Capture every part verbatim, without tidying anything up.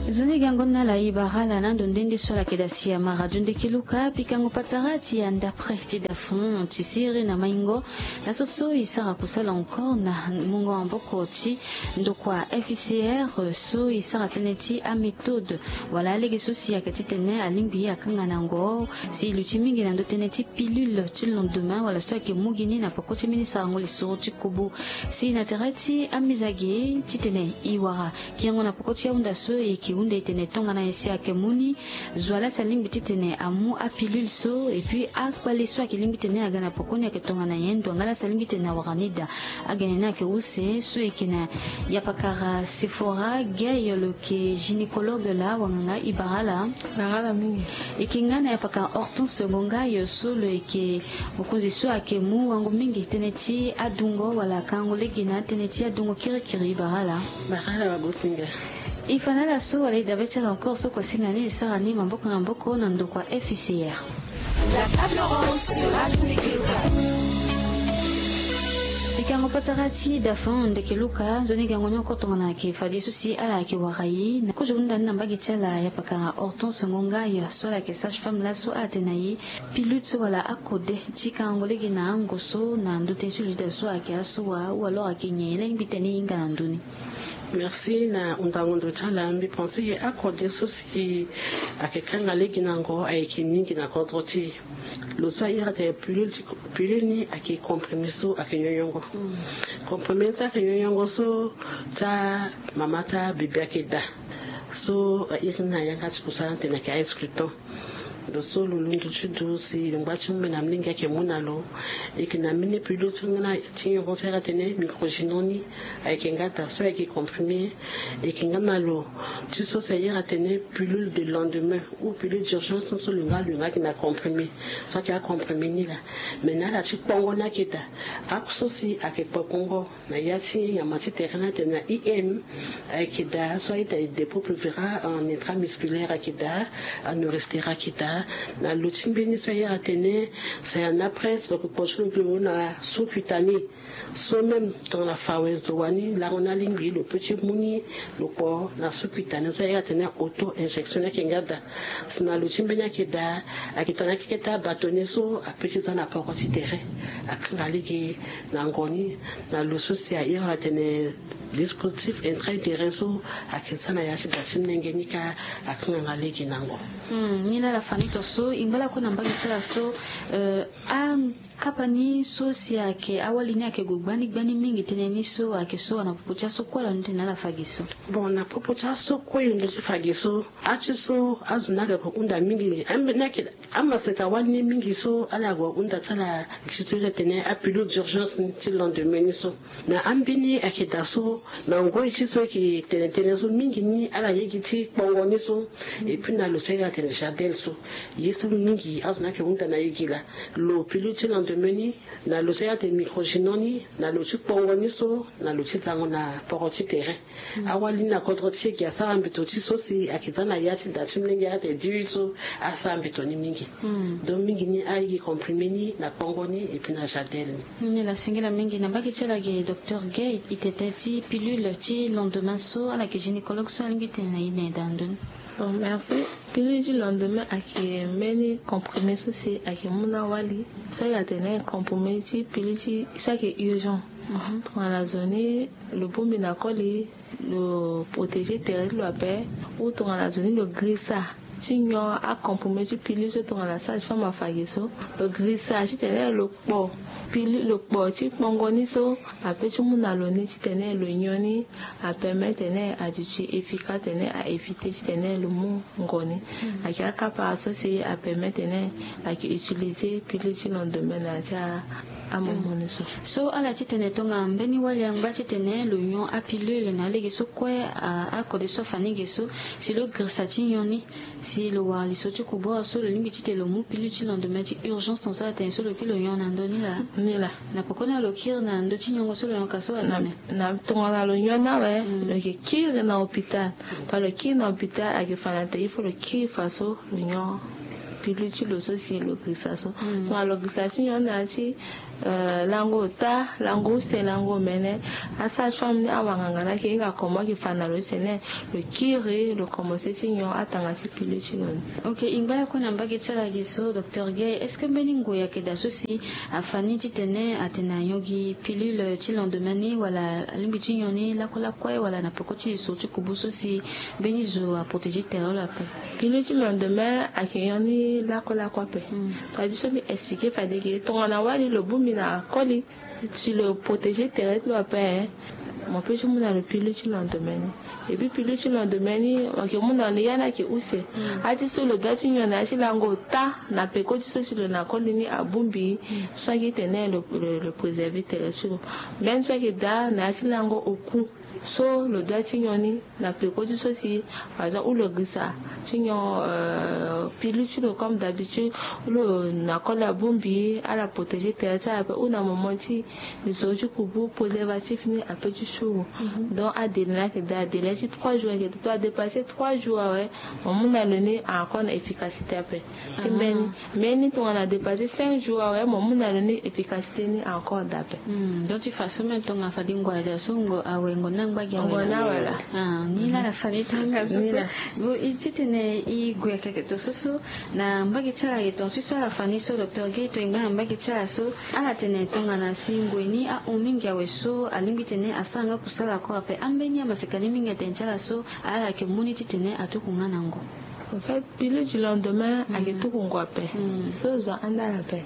Nzoni gango na ala e bara ala na ndo nde nde so ala yeke daa si amara dio ndeke luka pikango patara ti andapre ti dafon ti siriri na maingo. Laso so e sara kusala encore na mungo maboko ti ndokua F I C R so e sara tënë ti améthode wala alege so si ayeke titene alingbi akanga na ngo si e luti mingi na ndö tënë ti pilule ti lendemain wala so ayeke mu gi ni na peko ti mbeni sarango lisoro ti kubu. Si na tere ti amizage titene e wara kiringo na peko ti ahunda so e yeke hunda e tene tongana nyen si ayeke mu ni. Zo wa laa si alingbi titene amu apilule so et puis akpale so ayeke lingbi titene aga na peko ni ayeke tongana nyen? Ndo wa nga laa si alingbi titene awara ni daa. Agene ni ayeke use so e yeke na yapakara Sephora Gay lo yeke gynécologue laa wanganga e bara ala. Bara ala mingi. E yeke nga na yapakara Hortense Gongayo so lo yeke mokonzi so ayeke mu wango mingi tënë ti adungo wala akango lege na tënë ti adungo kirikiri e bara ala. Bara ala wagosinga. E fa na ala so wala e dabe ti ala encore so kua singa ni e sara ni maboko na maboko na ndokua F I C R. La table ronde sur Radio Ndeke Luka. Pikango patara ti dafon ndeke luka nzoni gango ni oko tongana ayeke fade so si ala yeke wara e na kozo hunda ni na mbage ti ala yapakara Hortense Ngonga ya so ala yeke sage femme laso ala tene na e pilule so wala akode ti kangango lege na ango so na ndö tënë so lo yeda so ayeke aso wa ou alors ayeke nyen ye laa e ngbi tënë e hinga na ndö ni. Merci na hundango ndo ti ala. Mbi pense ye akode so si ayeke kanga lege na ngo ayeke mingi na kodro ti e. Lo so a iri atene pilule ti pilule ni ayeke comprimé so ayeke nyonyongo. Comprimé so ayeke nyonyongo so ti amama ti abebe ayeke daa. So a iri ni na yanga ti kusala atene ayeke a exclutant. Ndo so lo londo ti ndo si lo ngba ti mu mbi na molenge ayeke mu na lo. E yeke na mbeni pilule ti nga na ti nyongo so a iri atene microgynon ni. Ayeke nga daa so ayeke comprimé. E yeke nga na lo ti so si a iri atene pilule de lendemain ou pilule d'urgence so lo nga lo nga ayeke na comprimé. So ayeke acomprimé ni laa. Mais na ala ti kpongo ni ayeke daa. Ako so si ayeke kpongo na ya ti nyama ti tere ni atene na I M. Ayeke daa so a ita e dépôt pulvéra en intramusculaire ayeke daa. Aneurysclère ayeke daa. Na lo ti mbeni so a iri atene c'est un après lo yeke kpo ti lo na sous-cutané. So même tongana fa awe zo wani lango ni alingbi lo peut ti mu ni. Lo kpo na sous-cutané so a iri atene auto injection ni ayeke nga daa. Si na lo ti mbeni ayeke daa. Ayeke tongana akeke ti abâtonnier so apeut ti za na poko ti tere. Akanga lege na ngo ni. Na lo so si a iri atene dispositif intra-utérin so ayeke za na ya ti da ti molenge ni kâ. Akanga nga lege na ngo. Ni laa ala fa ni tonso e ngba lakue na mbage ti ala so. Akapa ni so si ayeke awali ni ayeke gue gbani gbani mingi tënë ni so ayeke so wa na popo ti aso kue ala ni tene ala fa gi so. Bon na popo ti aso kue lo ndo ti fa gi so. Ati so azo ni ayeke hunda mingi ambeni ayeke amaseka wali ni mingi so ala gue hunda ti ala gi so iri atene apilule d'urgence ni ti lendemain ni so. Na ambeni ayeke daa so na ngoi ti so ayeke tene tënë so mingi ni ala ye gi ti kpongo ni so. Et puis na lo so a iri atene jadel so. Ye so mingi azo ni ayeke hunda na ye gi laa. Lo pilule ti lendemain ni na lo so a iri atene microgynon ni na lo ti kpongo ni so na lo ti zango na poro ti tere. Awali ni na kodro ti e gi asara mbeto ti so si ayeke za na ya ti da ti molenge a iri atene dix-huit so. Asara mbeto ni mingi. Donc mingi ni a ye gi comprimé ni na kpongo ni et puis na jadel ni. Ni laa singila mingi na mbage ti ala gi docteur Gay e tene tënë ti pilule ti lendemain so ala yeke gynécologue so alingbi tene na e na e daa ndoni. Bon merci. Pilule ti lendemain ayeke mbeni comprimé so si ayeke mu na awali. So a iri atene comprimé ti pilule ti so ayeke urgent. Tongana zo ni lo bongbi na koli lo protéger tere ti lo ape. Ou tongana zo ni lo grisa ti nyon acomprimé ti pilule so tongana sage femme afa gi so. Lo grisa titene lo kpo pilule lo kpo ti kpongo ni so. Apeut ti mu na lo ni titene lo nyon ni. Apermet tene aduti efficace tene a éviter titene lo mu ngo ni. Ayeke akapa so si apermet tene ayeke utiliser pilule ti lendemain na ya ti amomo ni so. So ala titene tongana mbeni wali angba titene lo nyon apilule na alege so kue akode so afa ni ge so. Si lo girisa ti nyon ni si lo wara lisoro ti kubua so lo lingbi titene lo mu pilule ti lendemain ti urgence tongaso atene so lo kiri lo nyon na ndö ni laa. Ni laa. Na pokoni lo kiri na ndö ti nyongo so lo yonka so atene. Na tongana lo nyon ni awe lo yeke kiri na hôpital. Tongana lo kiri na hôpital ayeke fa na tene il faut lo kiri fa so lo nyon. pilule ti lo so si lo girisa so. Tongana lo girisa ti nyon na ya ti lango ota, lango use, lango omene, asage-femme ni, awanganga ni ayeke hinga comment ayeke fa na lo ti tene lo kiri, lo commence ti nyon atanga ti pilule ti lo ni. Ok, e ngba ya kue na mbage ti ala ge so, docteur Gay, est-ce que mbeni ngoi ayeke daa so si afa ni titene atene anyon gi pilule ti lendemain ni, wala alingbi ti nyon ni lakue lakue, wala na peko ti lisoro ti kubu so si mbeni zo aprotégé tere lo ape? Pilule ti lendemain ayeke nyon ni lakue lakue ape. Tongana so mbi expliqué fade ge, tongana wali lo bongbi na koli, si lo protégé tere ti lo ape, mo peut ti mu na lo pilule ti lendemain ni. Et puis pilule ti lendemain ni, mo yeke mu na lo ni ya ni ayeke use. Ati so lo doit ti nyon na ya ti lango ota na peko ti so si lo na koli ni abongbi, so ayeke tene lo, lo, lo préserver tere ti lo. Même so ayeke daa na ya ti lango oku, so lo doit ti nyon ni na peko ti so si, par exemple, ou lo girisa ti nyon, euh, pilule ti lo comme d'habitude, ou lo na koli abongbi, ala protégé tere ti ala ape, ou na moment ti lisoro ti kubu, préservatif ni ape ti suru. Donc adélai ni ayeke daa, délai ti trois jours ayeke daa. To adépasser trois jours awe, mo mu na lo ni encore na efficacité ape. Ti mbeni, mbeni tongana adépasser cinq jours awe, mo mu na lo ni efficacité ni encore daa ape. Donc ti fa so même tongana fade ngoi aza so ngo awe, ngo na ngba gi awe. Ngo na wala. Ah, ni la la fade tanga so so. Bon, e titene e gue akeke to so so na mbage ti ala ge, ton so so ala fa ni so, docteur Gay, to e ngba na mbage ti ala so, ala tene tongana si ngoi ni ahon mingi awe so, alingbi tene asara nga kusala kue ape. Ambeni amaseka ni mingi atene ti ala so, ala yeke mu ni titene atuku nga na ngo. En fait, pilule du lendemain ayeke tuku ngo ape. So zo anda ala ape.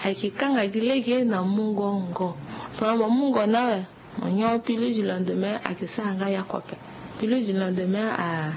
Ayeke kanga gi lege na mungo ngo. Tongana mo mu ngo ni awe, mo nyon pilule du lendemain, ayeke sara nga ya kue ape. Pilule du lendemain a,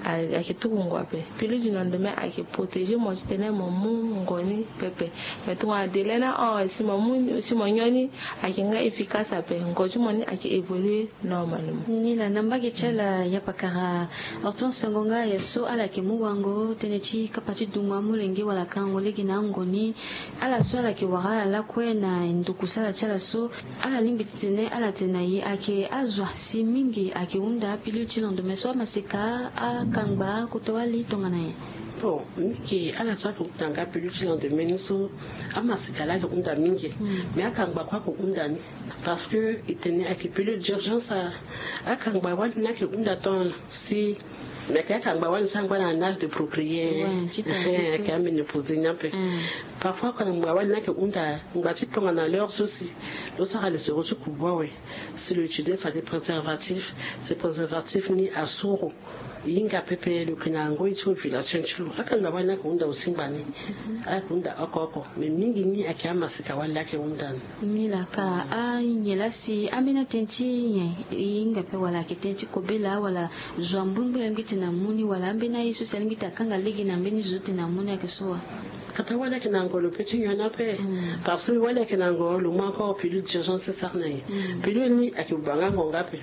a, ayeke tuku ngo ape. Pilule du lendemain ayeke protégé mo titene mo mu ngo ni pepe. Mais tongana délai ni ahon, si mo mu, si mo nyon ni, ayeke nga efficace ape. Ngo ti mo ni ayeke évoluer normalement. Ni la, na mbage ti ala, ya pakara Hortense Ngonga, ya so ala yeke mu wango tënë ti kapa ti dungo amolenge wala kangango lege na ango ni. Ala so ala yeke wara ala lakue na ndokusala ti ala so, ala lingbi titene ala tene na e ayeke azo si mingi ayeke hunda apilule ti lendemain so, amaseka, akangba, kota wali tongana nyen? Bon, mingi ala so ayeke hunda nga pilule ti lendemain ni so, amaseka laa ayeke hunda mingi. Mais akangba kue ayeke hunda ni. Parce que e tene ayeke pilule d'urgence, a, akangba wali ni ayeke hunda tant si, mais ayeke akangba wali ni so angba na âge de procréer. Ouais, ti tene so. Ayeke aménopause ni ape. Parfois akangba wali ni ayeke hunda ngba ti tongana l'heure so si lo sara lisoro ti kubu awe. Si lo utiliser fade préservatif, si préservatif ni asoro. E hinga pepe lo yeke na ngoi ti ovulation ti lo. Akangba wali ni ayeke hunda aussi ngbani. Ayeke hunda oko oko. Mais mingi ni ayeke amaseka wali ayeke hunda ni. Ni la ka, anyen laa si ambeni atënë ti nyen e hinga ape, wala ayeke tënë ti kobela, wala zo ambuingbuing alingbi ti tene amu ni, wala ambeni aye so si alingbi ti tene akanga lege na mbeni zo ti tene amu ni ayeke so wa? Kata wali ayeke na ngo lo peut ti nyon ni ape. Parce que wali ayeke na ngo lo mu encore pilule d'urgence ti sara na e. Pilule ni ayeke baa nga ngo nga ape.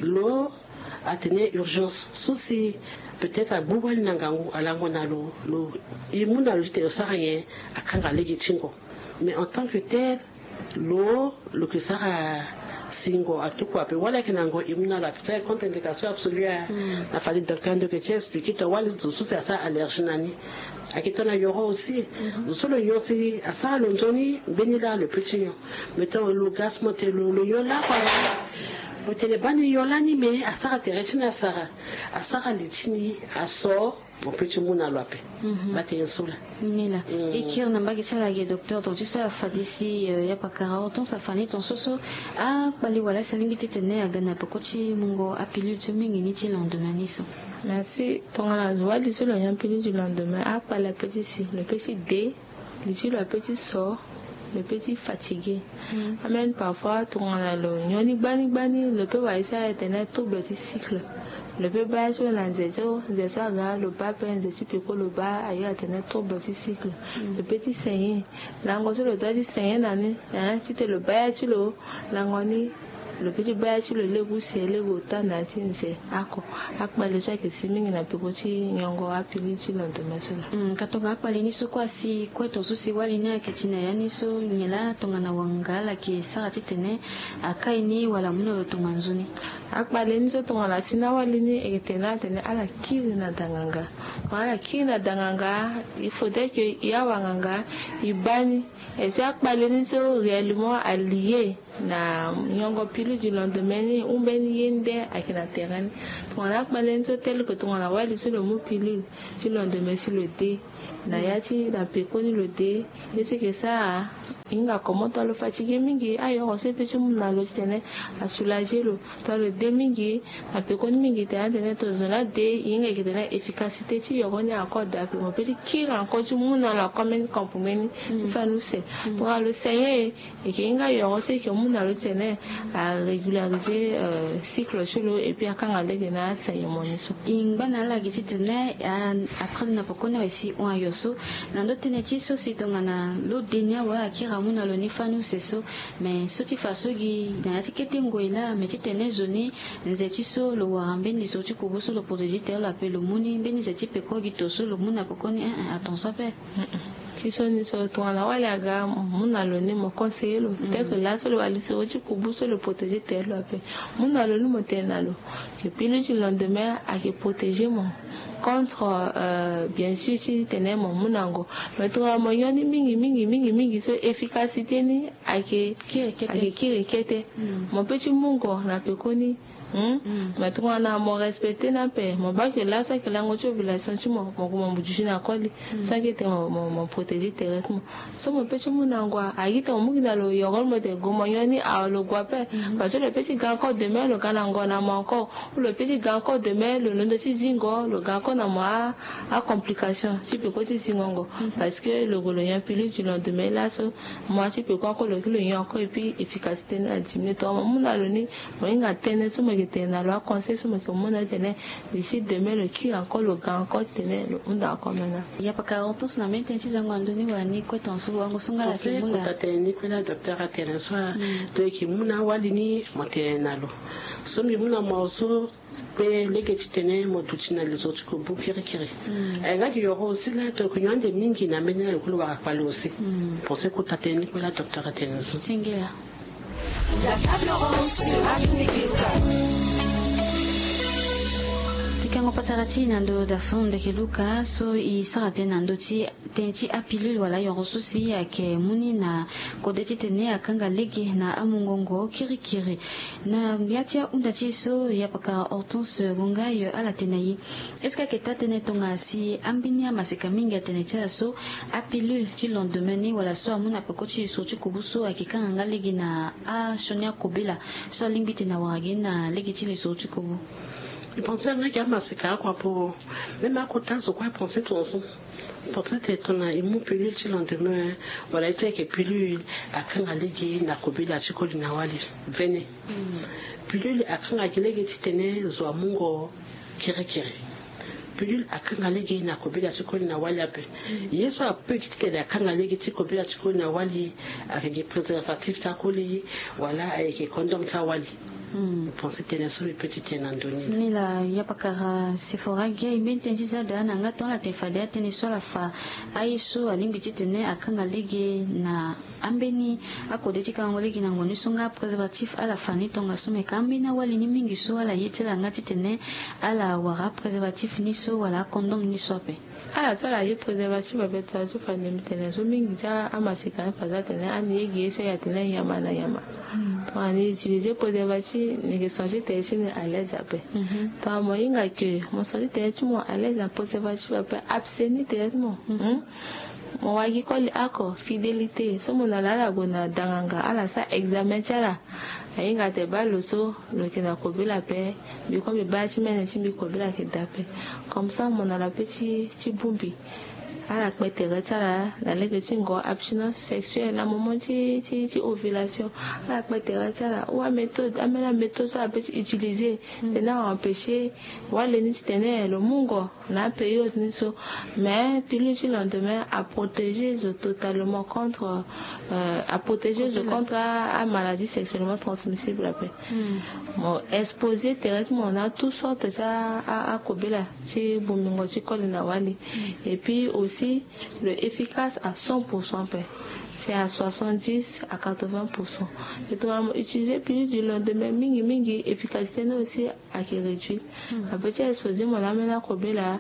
Lo atene urgence so si peut-être agbu wali na ngangu, alango na lo, lo e mu na lo ti tene lo sara nyen, akanga lege ti ngo. Mais en tant que tel, lo, lo yeke sara si ngo atuku ape. Wali ayeke na ngo e mu na lo ape, ti ayeke contre indication absolue, a, na fade docteur ndo yeke ti expliquer to wali zo so si asara allergie na ni. Ayeke tongana yoro aussi. Zo so lo nyon si asara lo nzoni, mbeni laa lo peut ti nyon. Mais tongana lo gasement te, lo, lo nyon lakue. Lo tene baa ni nyon lani, mais asara tere ti ni asara. Asara li ti ni aso, mo peut ti mu na lo ape. Baa tënë so laa. Ni laa. E kiri na mbage ti ala ge docteur, ton ti so afade si, euh, ya pakara Hortense afa ni ton so so. Akpale wala si alingbi ti tene aga na peko ti mungo apilule so mingi ni ti lendemain ni so. Merci. Tongana wali so lo nyon pilule du lendemain, akpale ape ti si, lo peut ti de, li ti lo ape ti so, lo peut ti fatigué. Amene parfois tongana lo nyon ni gbani gbani, lo peut wara ye so atene trouble ti cycle. Lo peut baa ye so na nze so, nze so aga lo baa ape, nze ti peko lo baa, aye atene trouble ti cycle. Lo peut ti saigner. Lango so lo doit ti saigner na ni, hein, ti tene lo baa ya ti lo, lango ni, lo peut ti baa ya ti lo lege use, lege ota na ya ti nze. Oko akpale so ayeke si mingi na peko ti nyongo apilule ti lendemain so laa. Hmm, ka tongana akpale ni so kue asi kue ton so si wali ni ayeke ti na ya ni so, nyen laa tongana wanga ala yeke sara titene akai ni wala amu na lo tonga nzoni? Akpale ni so tongana asi na wali ni, e yeke tene atene ala kiri na danganga. Wala kiri na danganga. Il faudrait que i awanganga i baa ni. Et so akpale ni so réellement alie na nyongo pilule du lendemain ni, ou mbeni ye nde ayeke na terrain ni. Tongana akpale ni so tel que tongana wali so lo mu pilule ti lendemain si lo de na ya ti na pekoni lo de. Ye so eke sara, hinga komo tongana lo fatigué mingi, ayoro so e pe ti mu na lo titene asoulager lo. Tongana lo de mingi, na pekoni mingi tene atene tozoni ade, hinga eke tene efficacité ti yoro ni encore de ape. Mo pe ti kiri encore ti mu na lo encore mbeni comprimé ni ti fa ni use. Tongana lo saigné, eke hinga yoro so eke mu na lo titene a régulariser cycle ti lo et puis akanga lege na asaignement ni so. E ngba na ala gi titene a, après na pekoni awe si hon ayo so na ndo tënë ti so si tongana lo de ni awe akiri amu na lo ni fa ni use so. Mais so ti fa so gi na ya ti kete ngoi laa, mais titene zo ni nze ti so lo wara mbeni zo ti kubu so lo protéger tere lo ape, lo mu ni mbeni ze ti peko gi to so lo mu na pekoni, eh, eh, atonso ape. Ti so ni so tongana wali aga, mu na lo ni mo conseiller lo. Tel que laso lo wali so ti kubu so lo protéger tere lo ape, mu na lo ni mo tene na lo que pilule ti lendemain ayeke protéger mo contre, euh, bien sûr titene mo mu na ngo. Mais tongana mo nyon ni mingi mingi mingi mingi so efficacité ni ayeke kiri kete. Mo pe ti mu ngo na pekoni. Hmm? Mais tongana mo respecter ni ape, mo baa que laso ayeke lango ti ovulation ti mo, mo gue mo duti na koli. So ayeke tene mo, mo, mo protéger tere ti mo. So mo pe ti mu na ngo, a gi tene mo mu gi na lo yoro ni mo tene gue mo nyon ni, awe lo gue ape. Parce que lo pe ti ga encore demain lo ga na ngo na mo encore. Ou lo pe ti ga encore demain lo londo ti zingo, lo ga encore na mo a, a complication ti peko ti zingo ngo. Parce que lo gue lo nyon pilule du lendemain laso, mo a ti peko encore lo ki lo nyon encore et puis efficacité ni adiminuer. Tongana mo mu na lo ni, mo hinga tënë so mo yeke tene na lo, aconseil so mo yeke mu na lo titene d'ici demain lo kiri encore, lo ga encore titene lo hunda encore maintenant. Yapaka Hortense, na mbeni tënë ti zango na ndö ni wala ni kue tongaso wango so nga ala yeke mu laa? Kota tënë ni kue laa docteur atene so laa, to yeke mu na awali ni mo tene na lo. So mbi mu na mo so pe lege titene mo duti na li zo ti kobu kirikiri. Eh, nga gi yoro aussi laa, to yeke nyon ande mingi na mbeni ala lo kue lo wara kpale aussi. Pensé kota tënë ni kue laa docteur atene so. Singila. Pikango patara ti e na ndo dafon ndeke luka so e sara tënë na ndo ti tënë ti apilule wala ayoro so si ayeke mu ni na kode titene akanga lege na amungo ngo kirikiri. Na ya ti ahunda ti e so, yapaka Hortense Bongayo, ala tene na e, est-ce que ayeke taa tënë tongana si ambeni amaseka mingi atene ti ala so apilule ti lendemain ni wala so amu na peko ti lisoro ti kobu so ayeke kanga nga lege na asioni akobela so alingbi tene awara gi na lege ti lisoro ti kobu? Mbi pensé nga gi amaseka oko ape. Même akota zo kue apensé tongaso. Pensé tene tongana e mu pilule ti lendemain wala e to ayeke pilule akanga lege na kobela ti koli na wali. Vene. Pilule akanga gi lege titene zo amu ngo kirikiri. Pilule akanga lege na kobela ti koli na wali ape. Ye so ape gi titene akanga lege ti kobela ti koli na wali, ayeke gi préservatif ti akoli wala ayeke condom ti awali. Pensé tënë so mbi pe ti tene na ndö ni. Ni laa, yapakara Sephora Gueye, mbeni tënë ti za daa na nga tonga ala tene fade atënë so ala fa aye so alingbi titene akanga lege na ambeni akode ti kangango lege na ngonyo so nga préservatif ala fa ni tongaso, me ka ambeni awali ni mingi so ala ye ti ala nga titene ala wara préservatif ni so wala akondom ni so ape. Ala so ala ye préservatif ape, tongana so fade mbi tene so mingi ti amaseka ni fa so atene ani ye gi ye so e atene nyama na nyama. Tongana ni utiliser préservatif, ni yeke senti tere ti ni à l'aise ape. Tongana mo hinga ke mo senti tere ti mo à l'aise na préservatif ape, abstenir tere ti mo. Mo wara gi koli oko, fidélité. So mo na lo, ala gue na danganga, ala sara examen ti ala. Ahinga tene baa lo so lo yeke na kobela ape. Mbi kue mbi baa ti mene ti mbi kobela ayeke daa ape. Comme ça mo na lo ape ti, ti bongbi. Ala kpe tere ti ala na lege ti ngo, abstinence sexuelle na moment ti, ti, ti ovulation. Ala kpe tere ti ala. Ou améthode, ambeni améthode so ala pe ti utiliser titene a empêcher wali ni titene lo mu ngo na apériode ni so. Mais pilule ti lendemain aprotéger zo totalement contre, euh, aprotéger zo contre a, a maladie sexuellement transmissible ape. Mo exposer tere ti mo na toutes sortes ti a, a, akobela ti bongbingo ti koli na wali. Et puis aussi lo efficace à cent pour cent ape. C'est à soixante-dix à quatre-vingts pour cent. Et tongana mo utiliser pilule du lendemain mingi mingi, efficacité ni aussi ayeke réduit. Ape ti exposer mo na ambeni akobela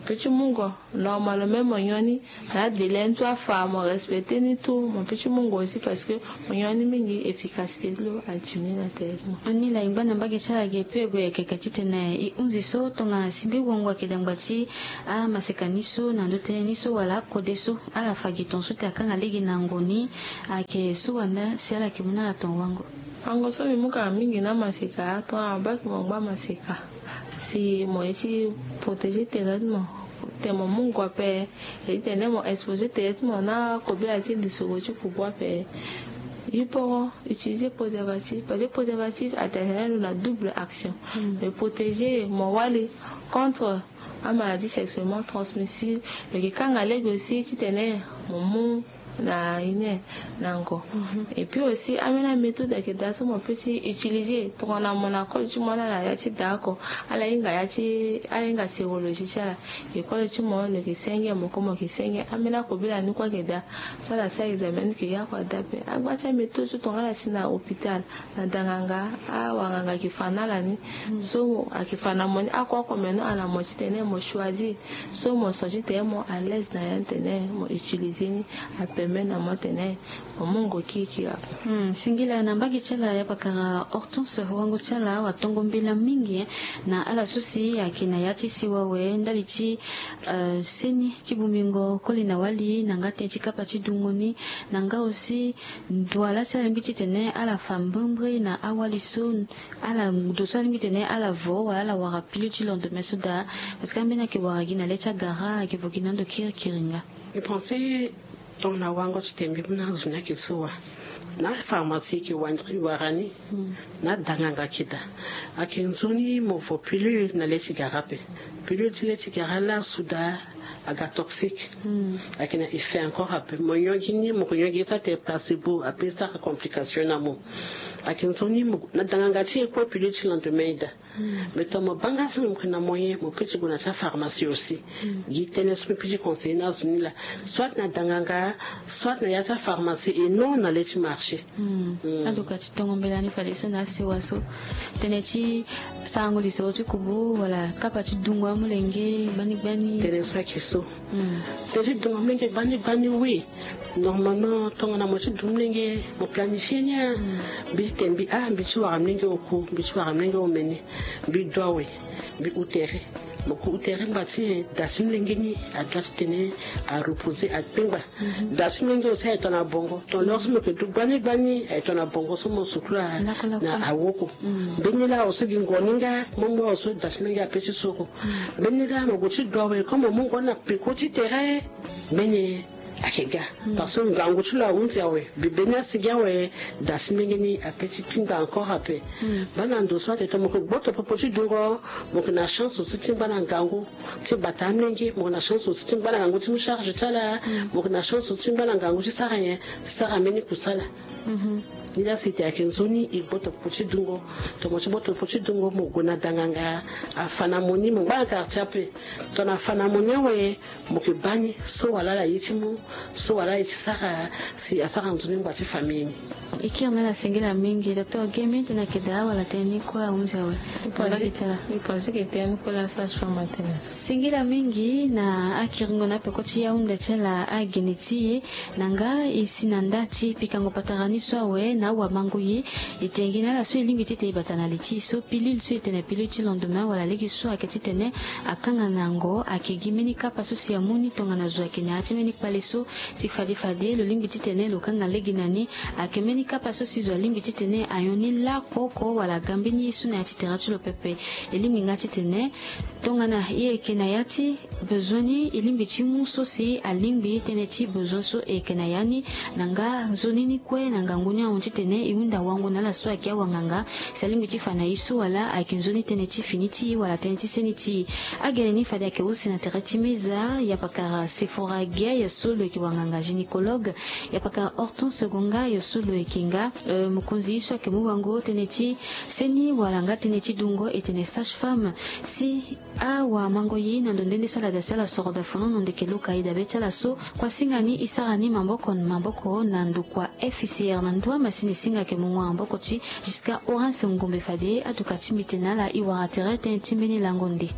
Petit mungo normal même mo nyoni na délai ni tout afa mo respecter ni tout mo petit mungo aussi parce que mo nyoni mingi efficacité lo a diminuer na tere ti mo. Ani la e ngba na mbage ti ala ge pe e gue yeke yeke titene e hunzi so tongana si mbi wongo ayeke dangba ti amaseka ni so na ndö tënë ni so wala akode so ala fa gi tongaso ti akanga lege na ngoni. Ayeke so wanda si ala yeke mu na ala tongaso wango. Wango so mbi mu kanga mingi na maseka tongana abaki mo ngba maseka si mo ye ti protéger tere ti mo. Te mo mu ngua pe e ti tene mo exposer tere ti mo na kobela ti lisoro ti kubu ape. Yiporo utiliser préservatif parce que préservatif atene lo na double action. Mais protéger mo wali contre amaladie sexuellement transmissible. Lo yeke kanga lege aussi titene mo mu na ine na ngo. Et puis aussi ambeni améthode ayeke daa so mo peut ti utiliser tongana mo na kode ti mo ala na ya ti daa oko. Ala hinga ya ti ala hinga sérologie ti ala. École ti mo lo yeke senge mo ko mo yeke senge ambeni akobela ni kue ayeke daa. So ala sara examen ni yeke ya kue ada pe agba ti améthode so tongana ala si na hôpital na danganga awanganga ayeke fa na ala ni. So ayeke fa na mo ni oko oko me non ala mo titene mo choisir so mo so titene mo à l'aise na ya ni tene mo utiliser ni. Apermet na mo tene mo mu ngo kirikiri ape. Singila na mbage ti ala ya pakara Hortense wango ti ala watongo mbela mingi na ala so si ayeke na ya ti siwa awe ndali ti seni ti bongbingo koli na wali na nga tënë ti kapa ti dungo ni na nga aussi ndo ala si ala lingbi titene ala fa mbrimbri na awali so ala ndo so ala lingbi titene ala vo wala ala wara pilule ti lendemain so daa. Parce que ambeni ayeke wara gi na le ti agara ayeke vo gi na ando kirikiri nga. Mbi pense tongana wango titene mbi mu na azo ni ayeke so wa na pharmacie ayeke wara ni. Na danganga ayeke daa ayeke nzoni mo vo pilule na le ti gara ape. Pilule ti le ti gara laa so daa aga toxique. Ayeke na effet encore ape mo nyongi ni mo yeke nyongi ye ti atene placebo ape sara complication na mo. Ayeke nzoni mo na danganga ti e kue pilule ti lendemain e daa. Mais tongana mo baa nga so mo yeke na moyen mo peut ti gue na ti apharmacie aussi. Gi tënë so mbi peut ti conseiller na azo ni laa soit na danganga soit na ya ti apharmacie et non na le ti marché. Adoka ti tongo mbela ni fadeso na asewa so tënë ti sarango lisoro ti kubu wala kapa ti dungo amolenge gbani gbani. Tënë so ayeke so tënë ti dungo amolenge gbani gbani oui. Normalement tongana mo ti du molenge mo planifie ni a mbi ti tene mbi a mbi ti wara molenge oku mbi ti wara molenge omene. Mbi du awe mbi hu tere. Mo ku hu tere ngba ti nyen da ti molenge ni adua ti tene areposer akpengba. Da ti molenge aussi aye tongana bongo tongana lor so mo yeke du gbani gbani aye tongana bongo so mo sukula na awoko. Mbeni laa aussi gi ngo ni nga mo mu awe so da ti molenge ape ti soro. Mbeni laa mo gue ti du awe comme mo mu ngo ni na peko ti tere. Mbeni ayeke ga parce que ngangu ti lo ahunzi awe. Mbi beni asi gi awe da ti molenge ni ape ti kpingba encore ape. Baa na ndo so atene tongana mo yeke gboto popo ti dungo mo yeke na chance aussi ti ngba na ngangu ti bata amolenge mo yeke na chance aussi ti ngba na ngangu ti mu charge ti ala. Mo yeke na chance aussi ti ngba na ngangu ti sara nyen ti sara mbeni kusala. Ni laa si tene ayeke nzoni e gboto popo ti dungo. Tongana mo ti gboto popo ti dungo mo gue na danganga afa na mo ni mo ngba na quartier ape. Tongana afa na mo ni awe mo yeke baa ni so wala ala ye ti mu so wala ala ye ti sara si asara nzoni ngba ti famille ni. E kiri na ala singila mingi docteur Gemi tënë ayeke daa wala tënë ni kue ahunzi awe. Mbi pense ke tënë ni kue laa sage femme atene. Singila mingi na akiringo na apeko ti ahunda ti ala agene ti e. Na nga e si na nda ti pikango patara ni so awe na awamango ye. E tene gi na ala so e lingbi titene e bata na li ti e so pilule so e tene pilule ti lendemain wala lege so ayeke titene akanga na yango ayeke gi mbeni kapa so si amu ni tongana zo ayeke na ya ti mbeni kpale so si fade fade lo lingbi titene lo kanga lege na ni. Ayeke mbeni kapa so si zo alingbi titene anyon ni lako oko wala aga mbeni ye so na ya ti tere ti lo pepe. E lingbi nga titene tongana e yeke na ya ti besoin ni e lingbi ti mu so si alingbi tënë ti besoin so e yeke na ya ni. Na nga nzoni ni kue na ngangu ni ahon titene e hunda wango na ala so ayeke awanganga si alingbi ti fa na e so wala ayeke nzoni tënë ti fini ti e wala tënë ti seni ti e. Agene ni fade ayeke use na tere ti meza ya pakara Sephora Gueye so lo yeke wanganga gynécologue. Ya pakara Hortense Gonga yo so lo yeke nga mokonzi ye so ayeke mu wango tënë ti seni wala nga tënë ti dungo e tene sage femme. Si awamango ye na ndo nde nde so ala da si ala soro da fonono ndeke loka e dabe ti ala so. Kuasinga ni e sara ni maboko na maboko na ndokua F C R na ndua masini singa ayeke mungo na maboko ti Giscard Horace Ngombe fade aduka ti mbi tene na ala e wara tere tënë ti mbeni lango nde.